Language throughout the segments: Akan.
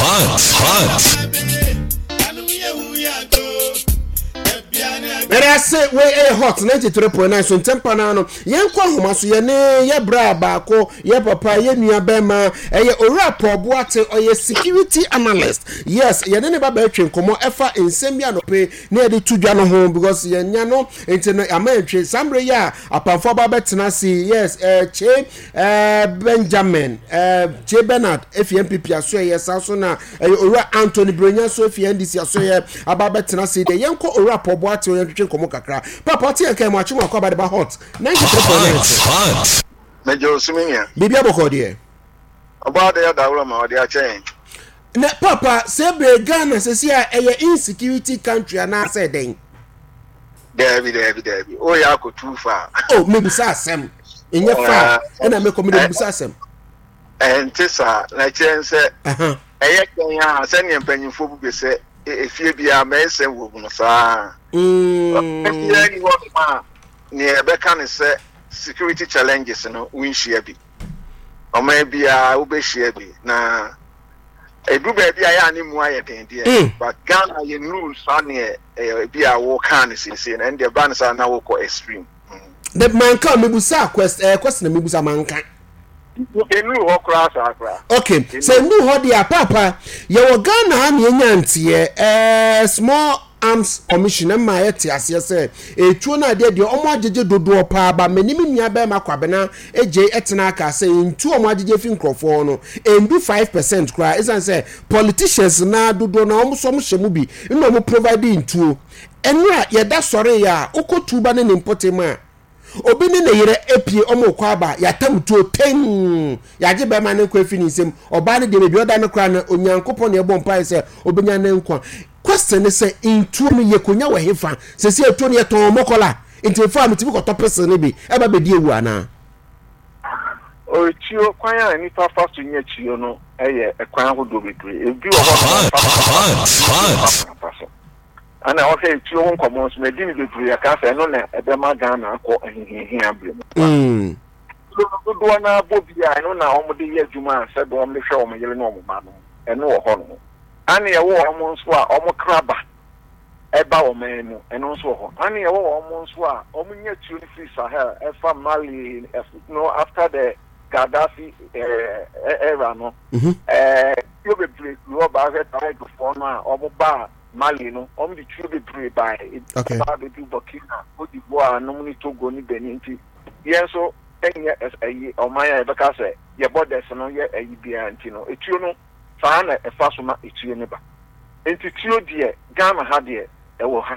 Hot, hot. Mɛde ase wei ɛyɛ Hot 93.9 so ntɛmpa no ano. Yɛnkɔ ahoma so, yɛne yɛ bra baako, yɛ papa, yɛ nua bɛrima, ɛyɛ Owura Paul Boate, ɔyɛ security analyst. Yes, yɛne ne ba bɛtwe nkɔmmɔ ɛfa nsɛm bi anɔpe na yɛde to dwa no ho, because yɛnya no nti no ama yɛntwe saa mmerɛ yi a apamfo aba bɛtena ase. Yes, Kye Benjamin, Kye Bernard efi NPP asoɛyɛ, saa so na ɛyɛ Owura Anthony Brenya so efi NDC asoɛyɛ aba bɛtena ase deɛ. Yɛnkɔ Owura Paul Boate, yɛntwetwe nkɔmmɔ kakra. Papa, ɔte yɛn kan mu akye mu akɔ aba de ba Hot 93.9 so. Mɛgye osumi nua. Biribi abɔkɔ deɛ. Ɔbaa de adaworo ma ɔde akyɛ yɛn. Na papa, sɛ bere Ghana sɛsi a ɛyɛ insecurity country anaasɛ dɛn? Daabi, daabi, daabi. O yɛ akɔtu fa. O mebisa asɛm. Ɛnyɛ fa ɛna mekɔ mede mebisa asɛm. Ɛnte saa, na kyerɛ sɛ ɛyɛ kɛn a sɛdeɛ mpanyimfoɔ bu bɛ sɛ efie biara mɛnsɛm wɔ mu no saa. Biara ni hɔ a nea ɛbɛka ne sɛ security challenges no wonhyia bi. Ɔman biara wobɛhyia bi, na edu baabi a yɛ a ne mu ayɛ den deɛ, but Ghana yɛ nuru saa neɛ ebi a wɔkaa no seesei no, ɛno deɛ ba no saa na wokɔ extreme. The manka mebusa question na mebusa manka. Enuru hɔ koraa saa koraa. Okay, sɛ enuru hɔ deɛ a, paapa, yɛwɔ Ghana ha na yɛnya nteɛ Small Arms Commission ɛma yɛte aseɛ sɛ etuo no adeɛ deɛ ɔmo agyegye dodoɔ paa ba. Mene me nua bɛrima Kwabena egye ɛtena aka sɛ ntuo ɔmo agyegye fi nkurɔfoɔ no endu 5% koraa, esan sɛ politicians naa dodoɔ na ɔmo so ɔmo hyɛ mu bi na ɔmo provide ntuo. Ɛnora yɛda sɔre yɛ a wokɔ tuba ne ne mpɔtam a, obi ne ne yere apue, ɔmo kɔ aba, yɛatam tuo tɛn, yɛagye bɛrima ne nkwa afi ne nsam. Ɔbaa no deɛ, baabi ɔda no koraa no, Onyankopɔn na ɛbɔ mpaeɛ sɛ ɔbɛnya ne nkwa. Question ne sɛ, ntuo no yɛkɔnya wɔ hefa? Sɛsi atuo no yɛtɔn mɔkɔla nti mfa a metumi kɔtɔ pestle no bi ɛba bɛdi awu anaa? Tuo, kwan a nnipa fa so nya tuo no yɛ kwan ahodoɔ bebree. Ebi wɔ hɔ nom a wɔfa kwan pa so, ebi nso mfa kwan pa so. Ɛna ɔhwɛ etuo ho nkɔmmɔ nso, madi no bebree aka sɛ ɛno na ɛbɛma Ghana akɔ ahohiahia bere mu. Tuo no dodoɔ no ara bɔ bi a, ɛno na wɔde yɛ adwuma a sɛdeɛ wɔde hwɛ wɔn yere ne wɔn mma no, ɛno wɔ hɔ nom. Ɛna ɛwɔ wɔn nso a wɔkra ba ɛba ɔman mu, ɛno nso wɔ hɔ. Ɛna ɛwɔ wɔn nso a wɔnya tuo no firi Sahel ɛfa Mali, no after the Gaddafi era no, tuo bebree firi hɔ ba. Ahwɛ Tuaregfoɔ no a wɔn baa Mali no, wɔn de tuo bebree bae. Ebi ba abɛdu Burkina, Cote d'Ivoire nom ne Togo ne Benin, nti yɛn nso nyɛ ɛyi ɔman a yɛbɛka sɛ yɛ borders no yɛ ɛyi biara, nti no etuo no saa na ɛfa so ma etuo no ba. Nti tuo deɛ, Ghana ha deɛ ɛwɔ ha.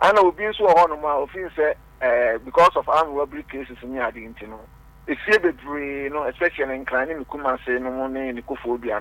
Ana obi nso wɔ hɔnom a ofin sɛ because of armed robbery cases ne ade nti no, efie bebree no, especially Nkran ne ne Kumase nom ne ne Koforidua no.